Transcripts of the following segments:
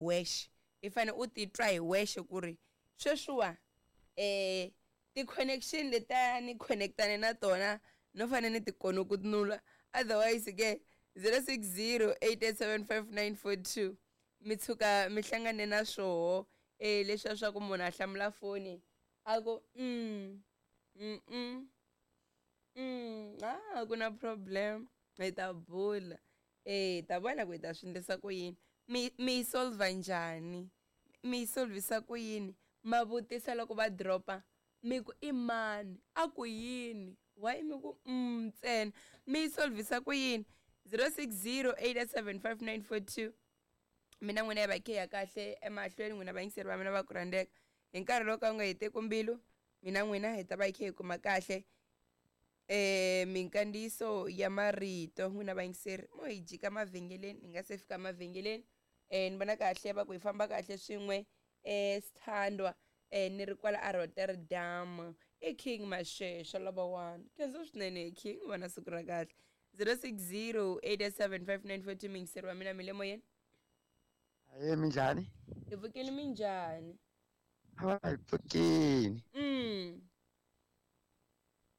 Wexe i fane u titwa hi wexe ku ri sweswiwa ti-connection letiya ni connect-ane na tona no fane ni ti konokunula otherwise ke 060 887 5942 mi tshuka mi hlangane na swoho leswiya swa ku munhu a hlamula foni a ku mm mm a ku na problem hi ta bula. Hi ta vona ku hi ta swi endlisa ku yini. Mi mi yi solver njhani? Mi yi solvisa ku yini? Ma vutisa loko va drop-a mi ku i mani? A ku yini? Why mi ku ntsena? Mi yi solvisa ku yini? 060 887 5942 mina n'wina hi va khe ya kahle emahlweni n'wina vayingiseri va mina va ku rhandzeka hi nkarhi lowu ka wu nga heteki mbilu mina n'wina hi ta va hi khe hi kuma kahle Minkandziyiso ya marito n'wina vayingiseri mo hi jika mavhengeleni hi nga se fika mavhengeleni ni vona kahle va ku hi famba kahle swin'we sithandwa ni ri kwala a Rotterdam i King Mashesha lavawani khensa swinene King va na siku ra kahle 060 887 5942 muyingiseri wa mina mi le moyeni. Ahee minjhani? Hi pfukile minjhani? Hi pfukile.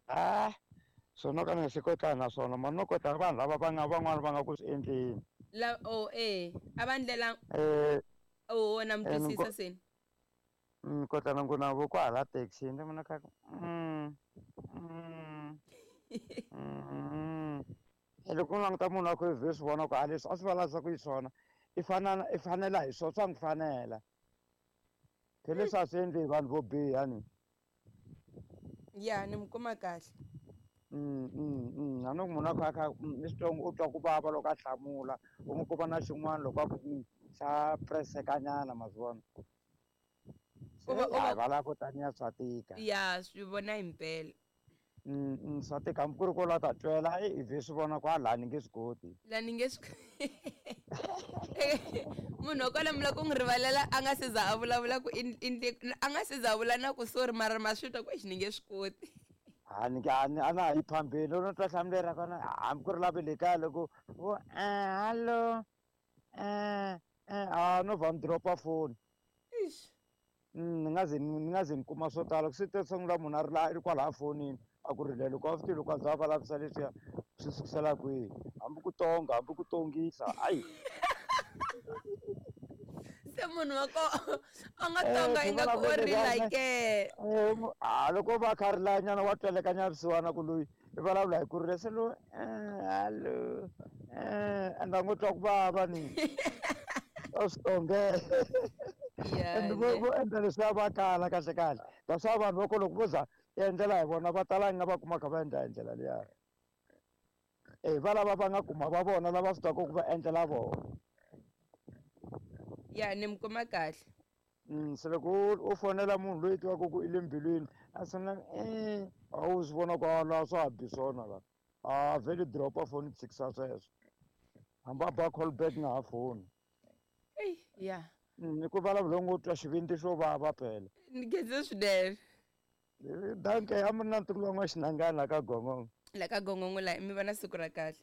Ah, swona ka ni nga se kotana na swona mara no kota vanhu lava va nga van'wana va nga ku swi endleni. La oh eh a va ndlela oh na mi twisisa se. Ni kotana ku na vo kwahala taxi ni vona kha ku loko u languta munhu a kha i vhe swi vona ku a leswi a swi vulavulisa ku yi swona i fanana i fanela hi swona swa n'wi fanela. Phela leswi a swi endli hi vanhu vo biha ni. Ya ni mi kuma kahle. A ni ku munhu a kha a kha ni swi twa u twa ku vava loko a hlamula u n'wi komba na xin'wana loko a ku xa preseka nyana ma swi vona. Se a va lava taniya swa tika. Ya swi vona himpela. Swa tika hambi ku ri ko la ta twela i vhe swi vona ku a laha ni nge swi koti. La ni nge swi munhu wa kwala mi lava ku n'wi rivalela a nga se za a vulavula ku a nga se za a vula na ku sorry mara ma swi twa ku exi ni nge swi koti. A ni a ni a na ha yi phambeni loko no twa nhlamulo ra kona hambi ku ri la ve le kaya loko vo hallo a no vha ni drop-a foni. Eish. Ni nga ze ni nga ze ni kuma swo tala ku se to sungula munhu a ri la i ri kwalaya fonini a ku rilele loko a swi tivi loko a za a vulavurisa leswiya swi sukisela kwihi hambi ku tonga hambi ku tongisa hayi. Se munhu wa koho a nga tonga ingaku o rila ke. A loko va kha a rila nyana wa tweleka nyana vusiwana ku loyi i vulavula hi ku rila se loyi hallo and a ngo twa ku vava ni a swi tongela and vo vo endla leswiya va kala kahle kahle that's why vanhu va ko loko vo za endlela hi vona va tala nga va kuma kha va endla hi ndlela liya e va lava va nga kuma va vona lava swi twaka ku va endlela vona. Ya ni mi kuma kahle. Se loko u fonela munhu loyi tivaka ku i le mbilwini a sungula a wu swi vona ku a la swa ha bi swona la a vhele drop-a foni tshikisa sweswo hambi a ba call back nga ha foni. Eyi ya. Ni ku vulavula ngo twa xivindzi xo vava phela. Ni khensa swinene. Danke a mi ri na ntukulu wa n'waxinangana la ka Gongongo. La ka Gongongo la mi va na siku ra kahle.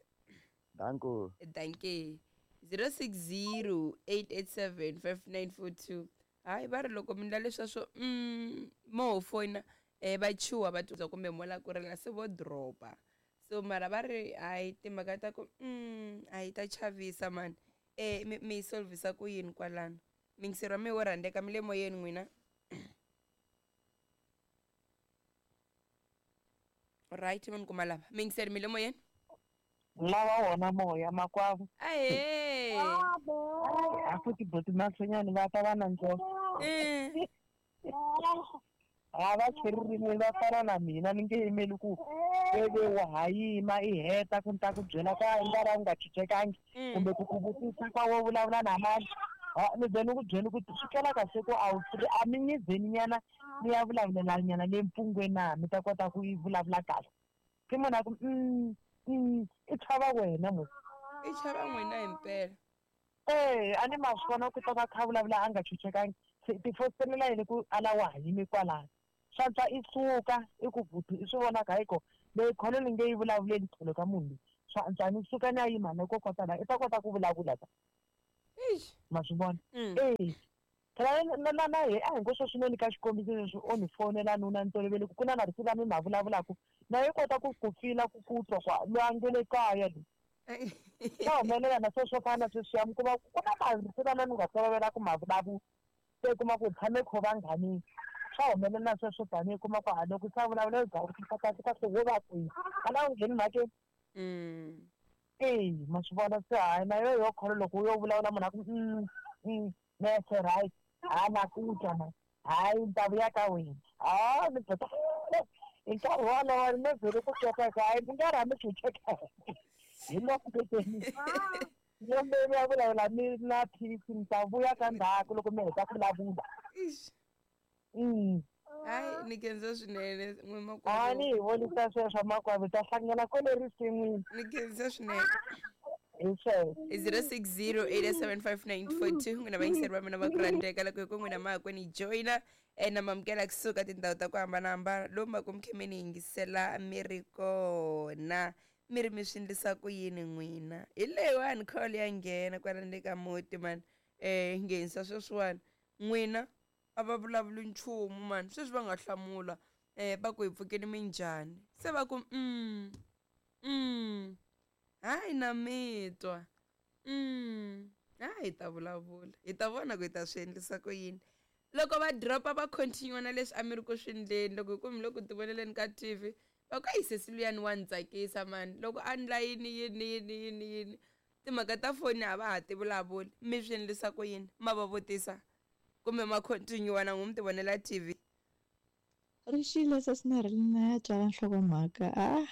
Danko. Danke. 060 887 5942 hayi va ri loko mi ndla leswa swo mo ho foyina va chuha va twa kumbe mo la ku rila se vo dropa so mara va ri hayi timhaka ta ku a yi ta chavisa mani mi yi solvisa ku yini kwalano mingiseri wa mi wo rhandzeka mi le moyeni n'wina. Right mi ni kuma lava mingiseri mi le moyeni. Lava wona moya makwavo. Ahee. A futhi buti Mahlonyani va ta va na ndzoho. A va cherile va fana na mina ni nge yimeli ku veve wa ha yima i heta ku ni ta ku byela ka i nga ra u nga chuchekangi kumbe ku ku vutisa kwa wo vulavula na mani. Ni ze ni ku byeli ku swi twela kahle ku a wu a mi nyizeni nyana mi ya vulavulela nyana le mpfungwe na mi ta kota ku yi vulavula kahle. Se munhu a ku i chava wena musi. I chava n'wina himpela. Eh, a ni ma swi vona ku ta va kha vulavula a nga chuchekangi. Se ti fositelela yini ku a la wa ha yimi kwalano. Swa i suka i ku buti i swi vona ku hayi ko leyi kholo ni nge yi vulavuleli tlhelo ka munhu loyi. Swa antswa ni suka ni ya yima na kokota la i ta kota ku vulavula ta. Ma swi vona? E phela na hi a hi ngo sweswi ni ka xikombiso leswi o ni fonela nuna ni tolovele ku na marito lama mi ma vulavulaka na yi kota ku ku fila ku ku twa kwa loyi a nge le kaya loyi. Swa humelela na sweswo fana na sweswiya mi kuma ku na marito lama mi nga tolovela ku ma vulavula, se kuma ku tshame kho vanghanini. Swa humelela sweswo tanihi kuma ku ha loko se a vulavula u za u twisisa kahle kahle wo va kwihi a na u ngheni mhakeni. E ma swi vona se hayi na yo yo kholo loko u yo vulavula munhu a ku mese right ha na ku twa na hayi ni ta vuya ka wena ha ni bota hi nkarhi wolowo ni vhele ku twa hayi mi nga rhami chucheka hi loko mi ya vulavula mi na peace ni ta vuya ka ndzhaku loko mi heta ku vulavula. Hayi ni khensa swinene n'we A makwavo. Ni hi vonisa sweswo makwavo ta hlangana kwele risin'wini. Ni khensa swinene. Hi sweswo. 06087594 n'wina vayingiseri va mina va ku rhandzeka loko hi ku n'wina ma ha ku ni joyina na mamukela kusuka tindhawu ta ku hambanahambana lomu va ku mi khe mi ni yingisela mi ri kona mi ri mi swi endlisa ku yini n'wina hi leyiwani call ya nghena kwala le ka muti mani nghenisa sweswiwani n'wina a va vulavuli nchumu mani sweswi va nga hlamula va ku hi pfukeni minjhani se va ku hayi na mi twa hayi hi ta vulavula hi ta vona ku hi ta swi endlisa ku yini loko va dropa va continue na leswi a mi ri ku swi endleni loko hi ku mi le ku tivoneleni ka TV va ku ayi sesi luyani wa ni tsakisa mani loko a ndla yini yini yini yini yini timhaka ta foni a va ha ti vulavuli mi swi endlisa ku yini ma va vutisa kumbe ma continue na n'wi mi tivonela TV. Ri xile sesi Marilyn ya tswala nhlokomhaka a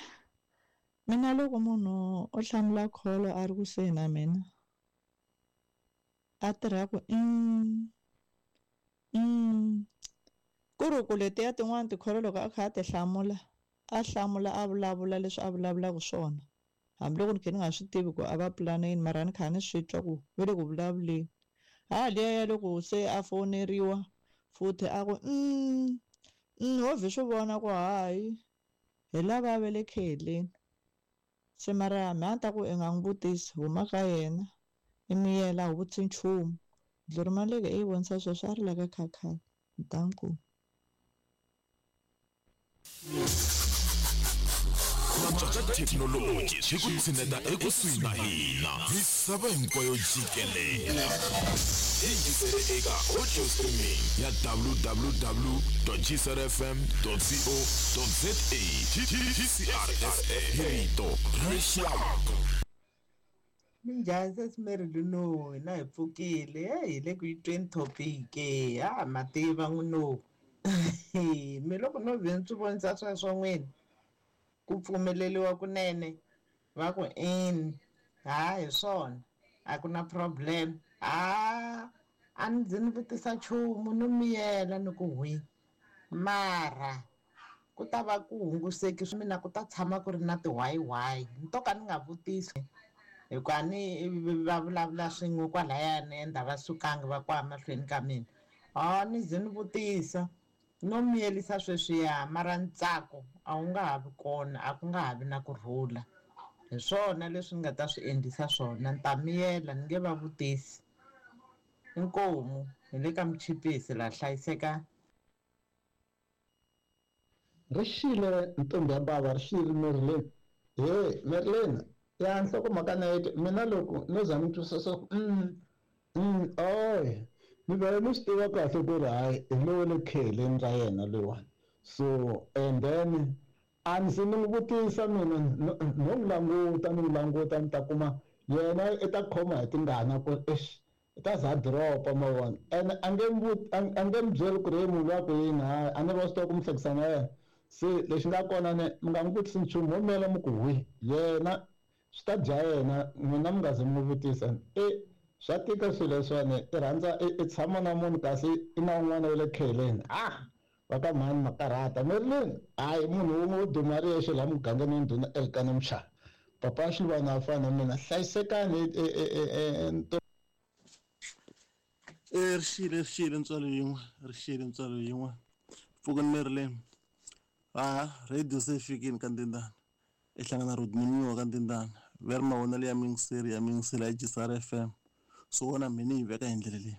mina loko munhu o hlamula kholo a ri kusuhi na mina a tirha ku ku ri ku letiya tin'wani tikholo loko a kha a ti hlamula a hlamula a vulavula leswi a vulavulaka swona hambiloko ni kha ni nga swi tivi ku a va pulana yini mara ni kha ni swi twa ku ve le ku vulavuleni ha liya ya loko se a foneriwa futhi a ku ho vhe swi vona ku hayi hi lava va le kheleni se mara mi a ni ta ku i nga n'wi vutisi huma ka yena i miyela a wu vutisi nchumu dlori maleke i yi vonisa sweswo a ri la ka khakhani danko. Ku ka thekinoloji swi ku tshineta ekusuhi na hina misava hinkwayo jikelele hi yingisele eka audio streaming ya www.gcrfm.co.za GCRSA hi rito ra rixaka. Minjhani sesi Marilyn no hina hi pfukile hi le ku yi tweni topic ha ma tiva n'wino mi loko no vhe ni swi vonisa sweswo n'wini ku pfumeleriwa kunene va ku in ha hi swona a ku na problem ha a ni ndzi ni vutisa nchumu no miyela ni ku hwi mara ku ta va ku hunguseki swi mina ku ta tshama ku ri na tiwayiwayi ni to ka ni nga vutisi hikuva ni va vulavula swin'we kwalayani ende a va sukangi va kwa mahlweni ka mina ha ni ze ni vutisa no miyelisa sweswiya mara ntsako a wu nga ha vi kona a ku nga ha vi na kurhula hi swona leswi ni nga ta swi endlisa swona ni ta miyela ni nge va vutisi inkomu hi le ka muchipisi laha hlayiseka. Ri xile ntombi ya bava ri xile Marilyn he Marilyn ya nhlokomhaka na yete mina loko no za ni twisisa ku oy mi vele mi swi tiva kahle ku ri hayi hi lowo le kheleni ra yena loyiwani so and then a ni se ni n'wi vutisa mina no n'wi languta ni n'wi languta ni ta kuma yena i ta khoma hi tingana ku eish i ta za a dropa ma vona and a nge a nge mi byeli ku ri he munhu luya ku yini hayi a ni ri wa swi tiva ku mi hlekisana na yena se lexi nga kona ne mi nga n'wi vutisi nchumu ho miyela mi ku hwi yena swi ta dya yena n'wina mi nga ze mi n'wi vutisa e swa tika swilo leswiwani i rhandza i tshama na munhu kasi i na un'wana wa le kheleni ah va ka mhani makarhata Marilyn hayi munhu wun'we wo duma ri yexe laha mugangeni wa ndhuna Elkana Mchana papa Xiluvana a fana na mina hlayisekani ri xile ri xile ntswalo yin'we ri xile ntswalo yin'we pfukani Marilyn ha radio se fikini ka ndindana i hlangana Rodney Munyowa ka ndindana ve ri mavonelo ya mingiseri ya mingisela ya GCR FM. So wona mina ni yi veka hi ndlela leyi.